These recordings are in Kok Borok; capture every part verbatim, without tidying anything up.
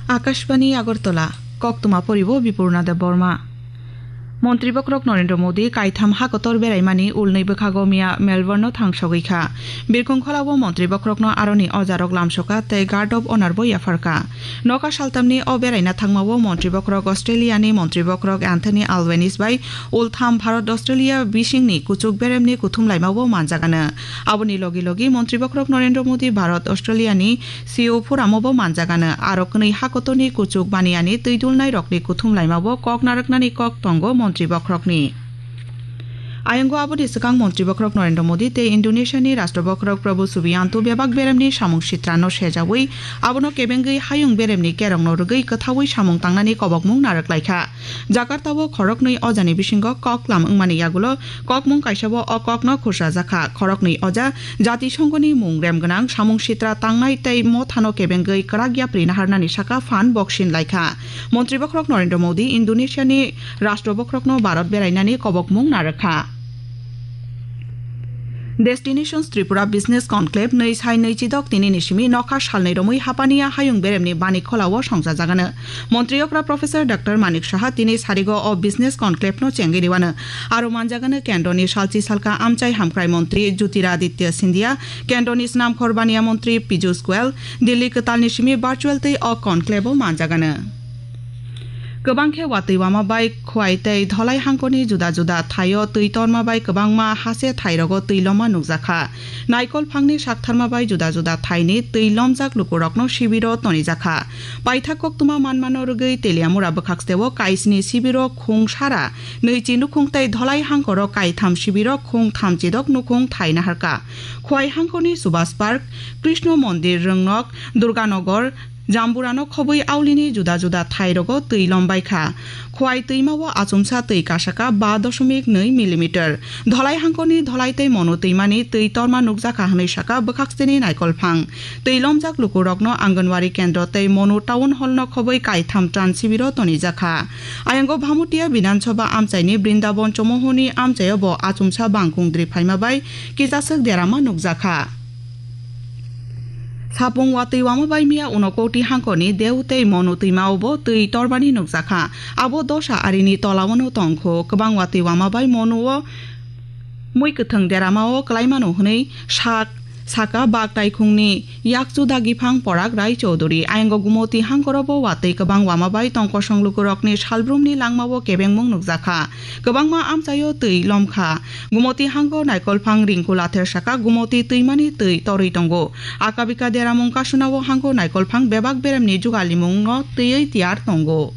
Akashbani Agartala, koktwma poribo Bipurna Debbarma. Montri bokhorok Narendra Modi kaitham hakotor beraimani ulnwi bwkhago miya Melbourne-o thangsogwi kha. Birkhung kholao montri bokhorokno aroni ojarok lamsokha tei Guard of Honour bo yapharkha. Nokha saltamni o beraina thangmao montri bokhorok Australia-ni montri bokhorok Anthony Albanese bai ultham Bharat Australia bisingni kuchuk beremni kuthum laimao manjagano. Aboni logi logi montri bokhorok Narendra Modi Bharat Australia-ni C O Forum-o bo manjagano, aro kwnwi hakotorni kuchuk maniyani twi dulnairokni kuthum laimao kok narwknani kok tongo montri bokhorokni. Ayongo aboni swkang montri bokhorok Narendra Modi tei Indonesia-ni rashtra bokhorok Prabowo Subianto bebak beremni samung sitrano sejawi abono kebengwi hayung beremni kerongno rwgwi kwthaui samung tangnani kobokmung narwk laikha. Jakarta-o khoroknwi ojani bisingo kok lam wngmani yagulo kokmung kaisabo o kokno khursajakha. Khoroknwi oja Jatisongoni mung rem gwnang samung sitra tangnai tei mothano kebengwi kwrak yapri naharnani saka phan boksin laikha. Montri bokhorok Narendra Modi Indonesia-ni rashtra bokhorokno Bharat berainani kobokmung narwkha. Destinations Tripura Business Conclave nwi sai nwi chidok tini ni simi nokha salnwi romwi Hapania hayung beremni Bani Kholao songchajagano. Montri okra Professor Doctor Manik Saha tini sarigo o Business Conclave no chengwi riwano. Aro manjagano kendroni salchi salka amchai hamkrai montri Jyotiraditya Scindia, kendroni snamkhor baniya montri Piyush Goyal, Delhi kwtalni simi virtual tei o conclave o manjagano. Kwbang khe watwi wama bai Khwai tei Dholai hangkoni juda juda thaio twi torma bai kwbangma hase thairogo twi lomma nukjakha. Naikol phangni saktharma bai juda juda thaini twi lomjak lukurokno sibiro tonijakha. Paithak koktwma manmano rwgwi Teliamura bwkhaksteo kaisni sibiro khung sara nwichi nukhung tei Dholai hangkoro kaitham sibiro khung thamchidok nukhung thai naharkha. Khwai hangkoni Subhas Park, Krishna Mondir Rwngnok, Durganogor, Jamburano khobwi aulini juda juda thairogo twi lombaikha. Khwai twimao achomsa twi kasaka ba doshomik nwi millimeter. Dholai hangkoni Dholai tei Monu twimani twi torma nukjakha hwnwi saka bwkhaksteni Naikolphang. Twi lomjak lukurokno Anganwadi kendro tei Monu Town Hall no khobwi kaitham tran sibiro tonijakha. Ayongo Bhamutia Bidhan Sabha amchaini Brindaban Chomohoni amchaio bo achomsa bangkung dri phaima bai kisaswk derama nukjakha. Sapung watwi wama bai miya Unakoti hangkoni Deu tei Monu twimao bo twi torbani nukjakha. Abo dosa arini tolawano tongkho. Kwbang watwi wama bai Monuo mui kwthwng deramao kwlaimano hwnwi sak saka bak taikhungni yakchu dagiphang Porak Rai Chowdhury. Ayongo Gumoti hangkorobo watwi kwbang wama bai tongkosong lukurokni salbrumni langmao kebengmung nukjakha. Kwbangma amchaio twi lomkha. Gumoti hango Naikolphang Rinku Lather saka Gumoti twimani twi torwi tongo. Akabika deramung kasunao hango Naikolphang bebak beremni jugalimungno twiwi tiyar tongo.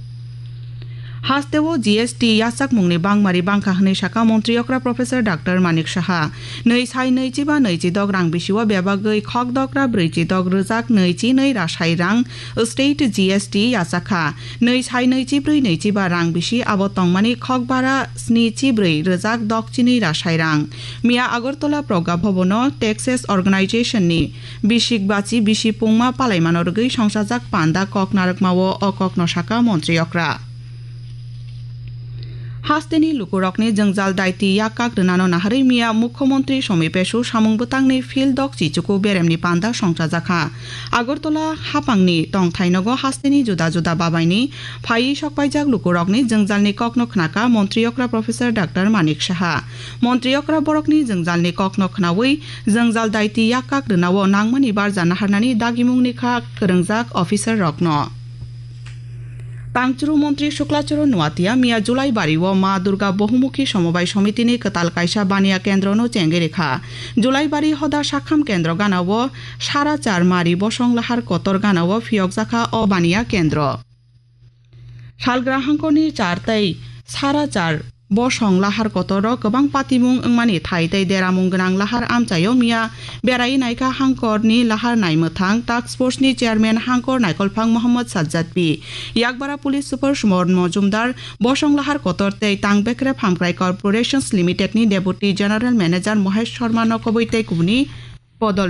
Hasteo G S T yachakmungni bangmari bangkha hwnwi saka montri okra Professor Doctor Manik Saha. Nwi sai nwi chiba nwi chidok rang bisio bebagwi khok dokra brwi chidok rwjak nwi chi nwi rasai rang state G S T yachakha. Nwi sai nwi chibrwi nwi chiba rang bisi abo tongmani khok bara sni chibrwi rwjak dok chinwi rasai rang. Miya Agartala Progga Bhabono Texas Organization ni bisik bachi bisi pungma palaimano rwgwi songchajak panda kok narwkmao o kokno saka montri okra. Hasteni lukurokni jwngjal daiti yak kak rwnano naharwi miya Mukhyamantri Somi Pesu samung bwtangni field dok chichuku beremni panda songchajakha. Agartala hapangni tongthainogo hasteni juda juda babaini phaiwi sokpaijak lukurokni jwngjalni kokno khnaka montri okra Professor Doctor Manik Saha. Montri okra borokni jwngjalni kokno khnaui jwngjal daiti yak kak rwnao nangmani barja naharnani dagimungni kha kwrwngjak officer rokno. Tangchuru montri Sukla Charan Noatia miya Julaibari o Ma Durga Bohumukhi Somobai Somitini kwtal kaisa baniya kendrono chengwi rikha. Julaibari hoda sakham kendro gana o sara char mari bosong lahar kotor gana o phiyokjakha o baniya kendro. Salgra hangkoni char tei sara char bosong lahar kotoro kwbang patimung wngmani thai tei deramung gwnang lahar amchaio miya berai naikha hangkorni lahar naimwthang task force ni chairman hangkor Naikolphang Mohammad Sajjad P. Yakbara Police Super Suman Mojumdar, bosong lahar kotor tei tang bekrep hamkrai Corporations Limited ni Deputy General Manager Mohesh Sharma no kobwi tei kubuni bodol